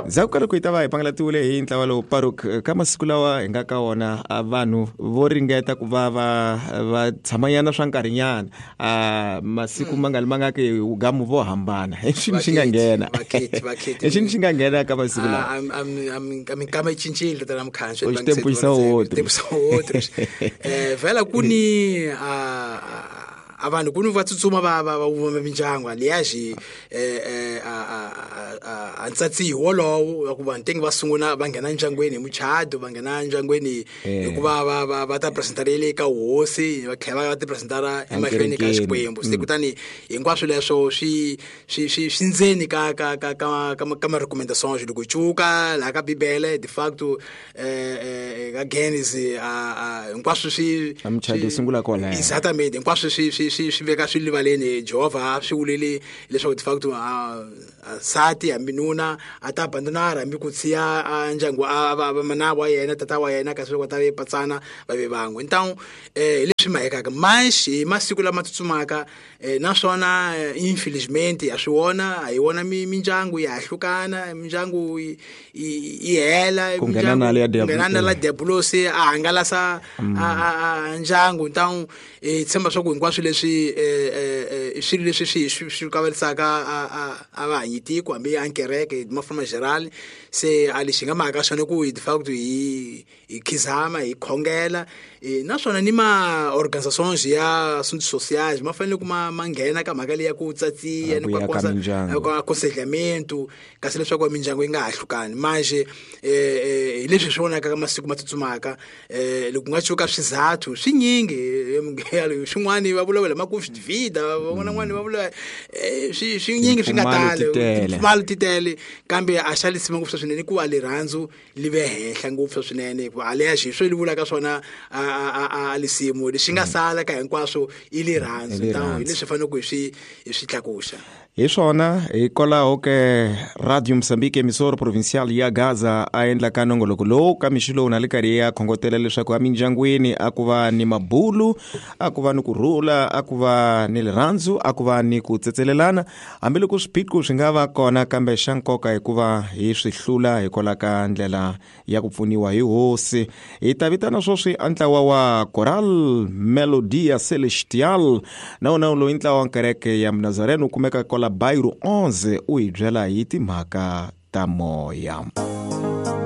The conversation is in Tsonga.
Ndzhaku ka loko hi ta va hi pangalatiwile hi ntlawa lowu paruk ka masiku lawa hi nga ka wona a vanhu vo ringeta ku va va va tshamanyana swa nkarhinyana a masiku ma nga li ma nga ki gamu vo hambana. Hi xini xi nga nghena? Hi xini xi nga nghena ka masiku lawa? Minkama yi cincile tata na mukhanyo. U xitempu xa wotro. Vhela ku ni a vanhu ku ni va tsutsuma va va va vumba mindyangu alias a ntsatsi wolowo wa ku vanhu tenge va sungula va nghena ndyangwini hi muchado, va nghena ndyangwini hikuva va va va ta presentara le ka hosi, va tlhela va ti presentara emahlweni ka Xikwembu. Se kutani hinkwaswo leswo swi swi swi swi ndzeni ka ka ka ka ka ka ma recommendations loko cuka laha ka Bibele de facto ka Genesis a hinkwaswo swi A muchado wu sungula kwalaya. Exactamente, hinkwaswo swi swi swi swi veka swi livaleni. Jehovha swi vulele leswaku de facto a nsati hambi nuna a ta abandonara hambi ku siya a ndyangu a va mana wa yena, tata wa yena, kasi loko ta ve patsana va ve van'we. Ntawu hi leswi mahekaka manxi hi masiku lama tsutsumaka, naswona infelizmente ha swi vona, a hi vona mindyangu ya hlukana, mindyangu yi hela, ku nghena na le ya ku nghena na la diabulosi a hangalasa a ndyangu. Ntawu hi tshemba swa ku hinkwaswo leswi i swilo leswi swi swi swi kaverisaka a va hanyi tiko hambi a kereke ma forma general. Se a lexi hi nga mhaka xona ku hi de facto hi hi khizama hi khongela, naswona ni ma organizations ya assuntos sociais ma fanele ku ma ma nghena ka mhaka leyi ya ku tsatsiya ni ku ku aconselhamento, kasi leswaku mindyangu yi nga ha hlukani manje. Hi leswi swi vonaka ka masiku ma tsutsumaka, loko nga cuka swizathu swinyingi, swin'wani va vulavula ma ku vida, van'wana va vula swi swinyingi swi nga tala, timpfumalo ti tele, kambe a xa lisima ngopfu swinene ku va rirhandzu li ve henhla ngopfu swinene, hikuva aleya xi swi li vulaka swona a lisimu lexi nga sala ka hinkwaswo i rirhandzu. Hi leswi faneleke hi swi hi swi tlakuxa. Hi swona, hikwalaho ke Radio Mozambique emissora provincial ya Gaza a endla ka nongoloko lowu ka mixo lowu na le karhi ya khongotela leswaku emindyangwini a ku va ni mabulu, a ku va ni ku rhula, a ku va ni rirhandzu, a ku va ni ku tsetselelana hambiloko swiphiqo swi nga va kona, kambe xa nkoka hikuva hi swi hlula hikwalaho ka ndlela ya ku pfuniwa hi hosi. Hi ta vitana sweswi a ntlawa wa Coral Melodia Celestial, na wona loyi ntlawa wa kereke ya Nazarene wu kumeka kwala Bairro 11, u hi byela hi timhaka ta moya.